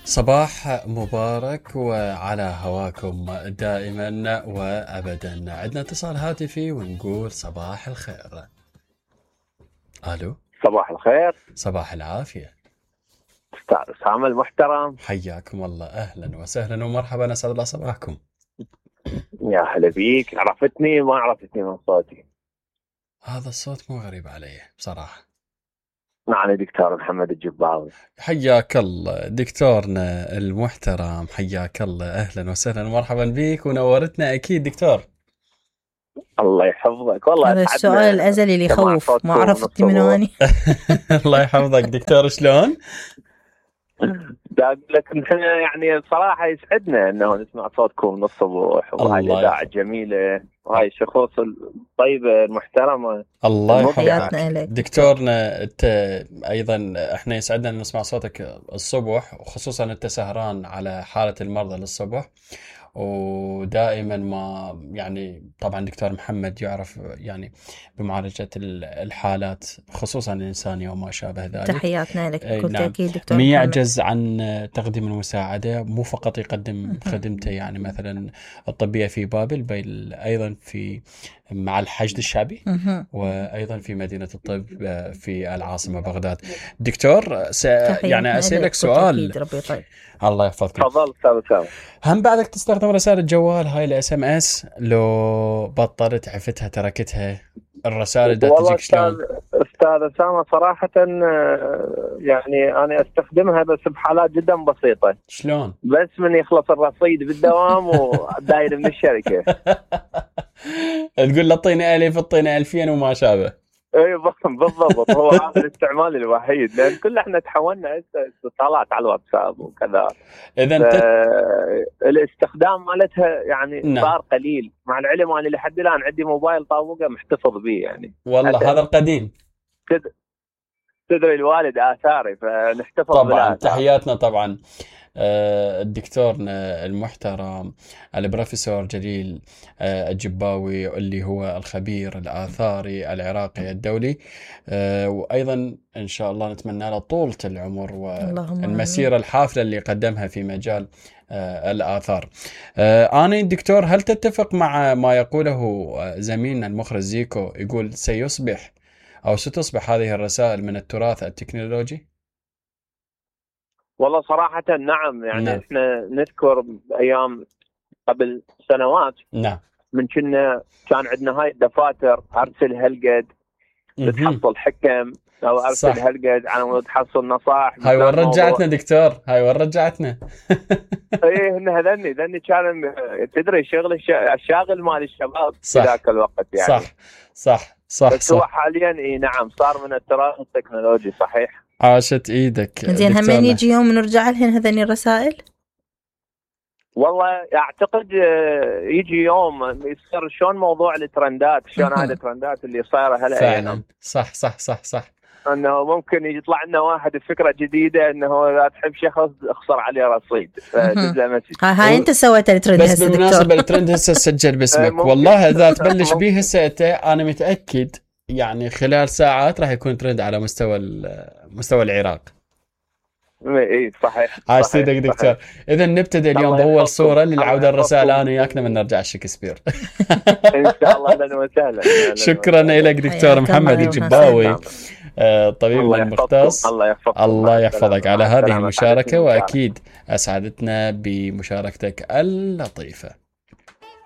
صباح مبارك وعلى هواكم دائما وابدا. عندنا اتصال هاتفي ونقول صباح الخير. الو، صباح الخير. صباح العافيه استاذ اسامه المحترم، حياكم الله، اهلا وسهلا ومرحبا، اسعد الله صباحكم. يا هلا بيك. عرفتني ما عرفتني من صوتي؟ هذا الصوت مو غريب علي بصراحه. أنا دكتور محمد الجباوي. حياك الله دكتورنا المحترم، حياك الله، اهلا وسهلا ومرحبا بك ونورتنا اكيد دكتور. الله يحفظك. والله هذا السؤال الازلي اللي يخوف، ما عرفتي منو اني. الله يحفظك دكتور، شلون؟ دا اقول لك نحن يعني بصراحه يسعدنا انه نسمع صوتكم من الصبح، وهاي الاذاعه الجميله وهاي الشخوص الطيبه المحترمه. الله يحفظك دكتورنا. انت ايضا احنا يسعدنا ان نسمع صوتك الصبح، وخصوصا انت سهران على حاله المرضى للصبح، ودائما ما يعني طبعا دكتور محمد يعرف يعني بمعالجة الحالات خصوصا الإنسانية وما شابه ذلك. تحياتنا لك بكل نعم. تأكيد دكتور ما محمد. يعجز عن تقديم المساعدة، مو فقط يقدم خدمته يعني مثلا الطبية في بابل، بل أيضا في مع الحشد الشعبي وأيضا في مدينة الطب في العاصمة بغداد. دكتور يعني أسألك سؤال. طيب. الله يحفظك. تفضل استاذ. هم بعدك تستخدم رسائل الجوال هاي الاس ام اس؟ لو بطلت عفتها تركتها الرسائل دا تجيك شلون؟ استاذ اسامه صراحه يعني انا استخدمها بس بحالات جدا بسيطه. شلون؟ بس من يخلص الرصيد بالدوام وداير من الشركه. تقول له اعطيني 1000 اعطيني 2000 وما شابه. اي بالضبط. هو هذا الاستعمال الوحيد، لان كل احنا تحولنا اتصالات على الواتساب وكذا. اذا الاستخدام مالتها يعني صار قليل، مع العلم انا لحد الان عندي موبايل طابوقه محتفظ به يعني. والله هذا القديم. تدري الوالد آثاري فنحتفظ طبعا. تحياتنا طبعا الدكتورنا المحترم البروفيسور جليل الجباوي، اللي هو الخبير الآثاري العراقي الدولي، وأيضا إن شاء الله نتمنى له طولة العمر والمسيرة الحافلة اللي قدمها في مجال الآثار. أنا دكتور، هل تتفق مع ما يقوله زميلنا المخرج زيكو، يقول سيصبح أو ستصبح هذه الرسائل من التراث التكنولوجي؟ والله صراحة نعم. يعني نعم. احنا نذكر ايام قبل سنوات نعم من كان عندنا هاي الدفاتر، ارسل هالقد تحصل حكم، او ارسل هالقد على مود تحصل نصائح. هاي وين رجعتنا دكتور؟ هاي وين رجعتنا؟ ايه ذني كان تدري الشاغل مال الشباب في ذاك الوقت يعني. صح بس هو حاليا اي نعم صار من التراث التكنولوجي. صحيح. عاشت ايدك. زين، هم يجي يوم نرجع لهن هذني الرسائل؟ والله اعتقد يجي يوم يصير شلون موضوع الترندات، شلون هاي الترندات اللي صايره هلا فعلا. صح انه ممكن يطلع لنا واحد بفكره جديده انه اذا تحب شخص اخسر عليه رصيد هاي انت سويت الترند هسه. بس بالمناسبه الترند هسه سجل باسمك. والله اذا تبلش به هسه انا متاكد يعني خلال ساعات راح يكون ترند على مستوى العراق. اي صحيح. عاش سيدك دكتور. اذا نبتدي اليوم باول صوره للعوده الرسائل انا وياك من نرجع شكسبير. ان شاء الله. اهلا وسهلا. شكرا لك دكتور محمد الجباوي، طبيب المختص. الله يحفظك على هذه المشاركه، واكيد اسعدتنا بمشاركتك اللطيفه.